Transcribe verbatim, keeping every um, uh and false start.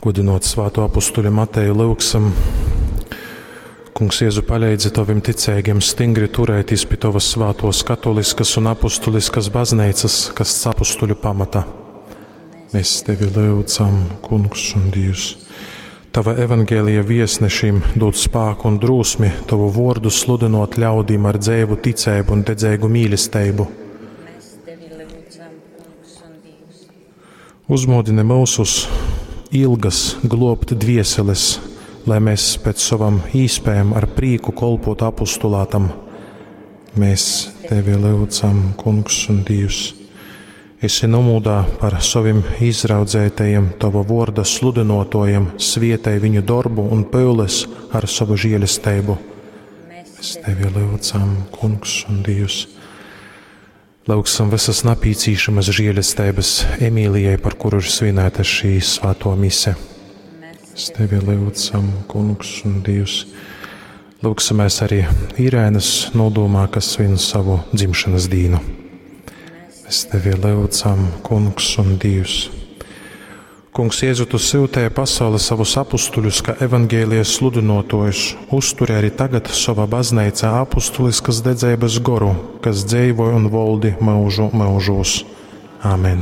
Gudinot svāto apustuļu Mateju lyugsim. Kungs Jēzu, paleidzi tovim ticeigiem stingri turēties pi tovas svātos katoliskas un apustuliskas bazneicas, kas apustuļu pamata. Mēs tevi lyudzam, Kungs un Dievs. Tava evangelija viesnešim dod spāku un drūsmi tovu vordu sludinot ļaudīm ar dzeivu ticēbu un dedzeigu mīlestību. Mēs tevi lūdzam, Kungs un Dievs. Uzmodini mūsus ilgas globt dvieseles, lai mēs pēc savam īspējam ar prīku kolpotu apustulātam. Mēs tevi lūdzam, Kungs un Dievs. Esi nomūdā par saviem izraudzētajiem tava vorda sludinotojiem, svietēj viņu darbu un pyules ar savu žēlestību. Mēs Mēs tevi lūdzam, Kungs un Dievs. Lūgsim visas napīcīšamas žēlestības Emīlijai, par kuru ir svinēta šī svāto mise. Mēs Mēs tevi lūdzam, Kungs un Dievs. Lūgsimies arī Irēnas nodomā, kas svin savu dzimšanas dīnu. Mēs tevi lūdzam, Kungs un Dievs. Kungs Jēzu, tu sūtīji pasauli savus apustuļus, kā evaņģēlijas sludinotojus. Uzturi arī tagad savā baznīcā apustuliskas dedzības goru, kas dzīvoja un valdi mūžu mūžos. Āmen!